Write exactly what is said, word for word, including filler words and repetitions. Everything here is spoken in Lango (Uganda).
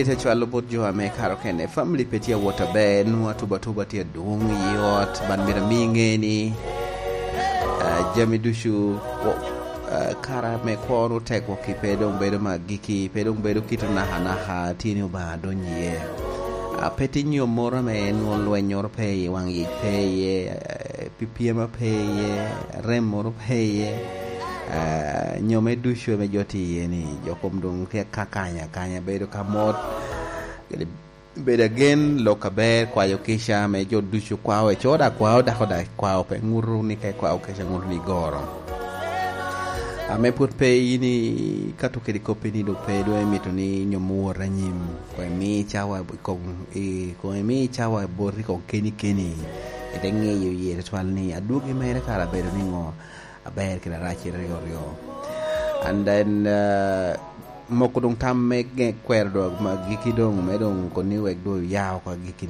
Ite cwalo bot jo ame karo kene, family pe tye awot aber, nwoŋo atuba atuba tye adwoŋ i ot, man myero ami ŋe ni, ah, jami ducu, wo-, ah, kara me kwono tegwok-ki pe doŋ bedo me agikki, pe doŋ bedo kit anaka anaka, tye ni Obaŋa adonyo iye. Ah, pe tye nyommoro ame nwoŋo lwennyoro pe iye, waŋ yic pe iye, eh, pyepyema pe iye, rem moro pe iye, ah, nyomme ducu ame jo tye iye ni, jo kom doŋ tye kakanya akanya, bedo ka mot, kede bedo agen, lok aber, kwayo kica ame jo ducu kwao, eco da kwao, dako da kwao, pe ŋuto ni ka ikwao kica ŋuto ni igoro. Ame pwod pe in ikato kede koppi ni doŋ pe doŋ imito ni nyomme wot anyim, koŋ imi cawa i kom, i, koŋ imi cawa boti koŋ keni keni, ite ŋeyo iye tutwal ni adwogi mere kara abedo niŋo, aber kede arac ryo ryo. And then, uh, moko doŋ tam me ge-, kwero doŋ agikki doŋ, me doŋ koni wek doŋ oya oko agikki ni.